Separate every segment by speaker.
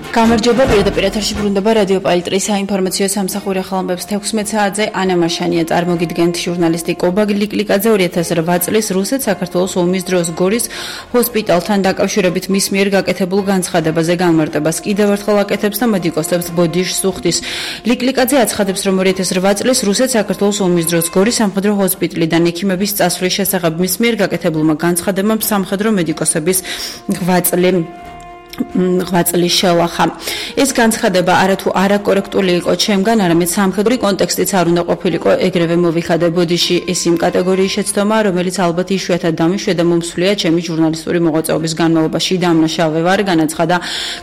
Speaker 1: გამარჯობა, პირდაპირ ეთერში ბრუნდება რადიო პალიტრის საინფორმაციო სამსახური ახალამბებს 16 საათზე. ანა მაშანია წარმოგიდგენთ ჟურნალისტი კობა გლიკლიკაძე 2008 წლის რუსეთ-საქართველოს ომის დროს გორის ჰოსპიტალთან დაკავშირებით მის მიერ გაკეთებულ განცხადებაზე განმარტებას კიდევ ერთხელ აკეთებს და მედიკოსებს ბოდიშს უხდის. გლიკლიკაძე აცხადებს, რომ 2008 წლის რუსეთ-საქართველოს ომის დროს გორის სამხედრო ჰოსპიტალიდან ექიმების წასვლის შესახებ მის მიერ გაკეთებულმა განცხადებამ სამხედრო მედიკოსების ღვაწლი შევლახა. ეს განცხადება არათუ არაკორექტული იყო ჩემგან, არამედ სამხედრო კონტექსტიც არ უნდა ყოფილიყო, ეგრევე მოვიხადე ბოდიში. ეს იმ კატეგორიის შეცდომაა, რომელიც ალბათ იშვიათად დამიშვია და მომსვლია ჩემი ჟურნალისტური მოღვაწეობის განმავლობაში. დამნაშავე ვარ, განაცხადა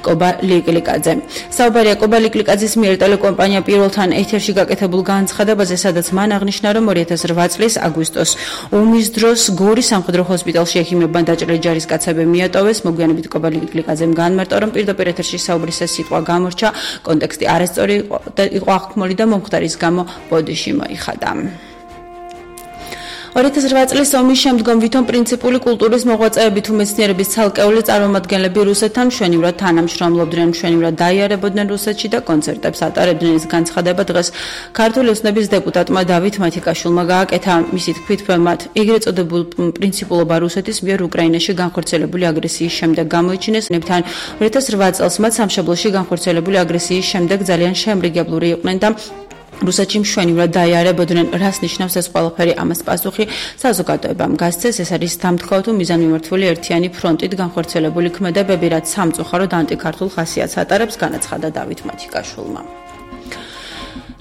Speaker 1: კობა გლიკლიკაძე. საუბარია კობა გლიკლიკაძის მიერ ტელეკომპანია პირველთან ეთერში გაკეთებულ განცხადებაზე, სადაც მან აღნიშნა, რომ 2008 წლის აგვისტოს ომის დროს გორის სამხედრო ჰოსპიტალში ექიმებმა დაჭრილი ჯარისკაცები მიატოვეს. მოგვიანებით კობა გლიკლიკაძემ განმარტა, რომ პირდაპირ ეთერში საუბრის ეს სიტყვა გამორჩა, კონტექსტი არასწორი იყო აღქმული და მომხდარის გამო ბოდიში მოიხადა. 2008 წლის ომის შემდგომ ვითომ პრინციპული კულტურის მოღვაწეები თუ მეცნიერების ცალკეული წარმომადგენლები რუსეთთან მშვენივრად თანამშრომლობდნენ, მშვენივრად დაიარებოდნენ რუსეთში და კონცერტებს ატარებდნენ. ეს განცხადება დღეს ქართული ოცნების დეპუტატმა დავით მათიკაშვილმა გააკეთა. მისი თქმით, მათ ეგრეთ წოდებულ პრინციპულობა რუსეთის მიერ უკრაინაში განხორციელებული აგრესიის შემდეგ გამოიჩინეს. ნებთან 2008 წელს მათ სამშობლოში განხორციელებული აგრესიის შემდეგ ძალიან შემრიგებლური იყვნენ და რუსეთში მშვენივრად დაიარებოდნენ. რას ნიშნავს ეს ყველაფერი? ამას პასუხი საზოგადოებამ გასცეს. ეს არის დამთქვა თუ მიზანმიმართული ერთიანი ფრონტით განხორციელებული ქმედებები, რაც სამწუხაროდ ანტიქართულ ხასიათს ატარებს, განაცხადა დავით მათიკაშვილმა.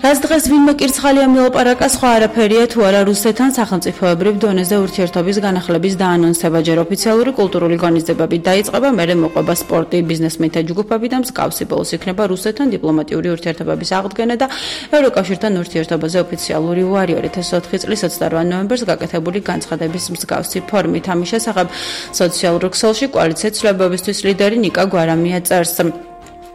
Speaker 1: რაც დღეს ვინმე კირცხალია მილაპარაკა, სხვა არაფერია თუ არა რუსეთთან სახელმწიფოებრივ დონეზე ურთიერთობის განახლების დაანონსება. ჯერ ოფიციალური კულტურული ღონისძიებები დაიწყება, მერე მოყვება სპორტი, ბიზნესმენთა ჯგუფები და მსგავსი. ბოლოს იქნება რუსეთთან დიპლომატიური ურთიერთობების აღდგენა და ევროკავშირთან ურთიერთობაზე ოფიციალური უარი. 2004 წლის 28 ნოემბერს გაკეთებული განცხადების მსგავსი ფორმით. ამის შესახებ სოციალურ ქსელში კოალიცია ცვლილებებისთვის ლიდერი ნიკა გვარამია წერს.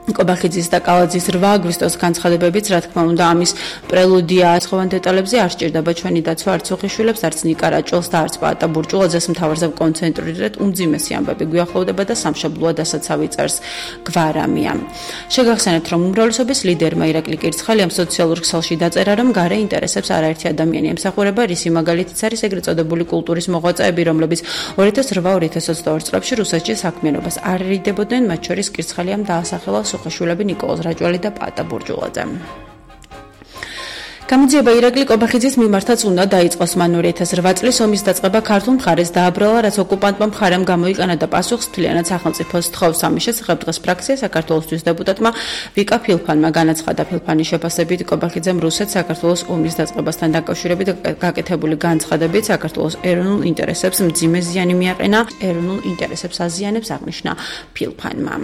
Speaker 1: კობახიძის და კალაძის 8 აგვისტოს განცხადებებიც, რა თქმა უნდა, ამის პრელუდია. სხვადასხვა დეტალებზე არ სჭირდება ჩვენი დაცვა არც უხიშვილებს, არც ნიკა რაჭველს და არც პაატა ბურჭულაძეს. მთავარზე კონცენტრირებად უმძიმესი ამბები გვიახლოვდება და სამშობლოა დასაცავი წერს გვარამია. შეგახსენებთ, რომ უმრავლესობის ლიდერმა ირაკლი კირცხალიამ სოციალურ ქსელში დაწერა, რომ გარე ინტერესებს არაერთი ადამიანი ემსახურება. რისი მაგალითიც არის ეგრეთ წოდებული კულტურის მოღვაწეები, რომლებიც 2008-2022 წლებში რუსეთში საქმიანობას არ ერიდებოდნენ, მათ შორის კირცხალიამ დაასახელა ხაშულები ნიკოლოზ რაჭველი და პაატა ბურჭულაძე. გამოძიება ირაკლი კობახიძის მიმართაც უნდა დაიწყოს. მან 2008 წლის ომის დაწყება ქართულ მხარეს დააბრალა, რაც ოკუპანტმა მხარემ გამოიყენა და პასუხს მთლიანად სახელმწიფოს თხოვს. ამის შესახებ დღეს ფრაქცია საქართველოსთვის დეპუტატმა ვიკა ფილფანმა განაცხადა. ფილფანის შეფასებით კობახიძემ რუსეთ-საქართველოს ომის დაწყებასთან დაკავშირებით გაკეთებული განცხადებით საქართველოს ეროვნულ ინტერესებს მძიმე ზიანი მიაყენა. ეროვნულ ინტერესებს აზიანებს, აღნიშნა ფილფანმა.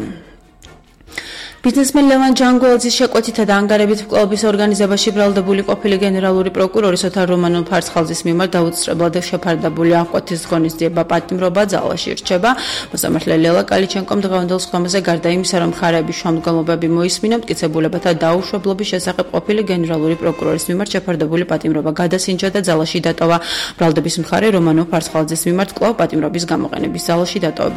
Speaker 1: ბიზნესმენ ლევან ჯანგველაძის შეკვეთითა და ანგარებით მკვლელობის ორგანიზებაში ბრალდებული ყოფილი გენერალური პროკურორი ოთარ რომანულ ფარცხალძის მიმართ დაუცხრებლად შეფარდებული აღკვეთის ღონისძიება პატიმრობა ძალაში რჩება. მოსამართლე ლელა კალიჩენკომ დღევანდელ სხდომაზე გარდა იმისა, რომ მხარეების შუამდგომლობები მოისმინა, მტკიცებულებათა დაუშვებლობის შესახებ ყოფილი გენერალური პროკურორის მიმართ შეფარდებული პატიმრობა გადასინჯა და ძალაში დატოვა. ბრალდების მხარე რომანულ ფარცხალძის მიმართ კვლავ პატიმრობის გამოყენების ძალაში დატოვებას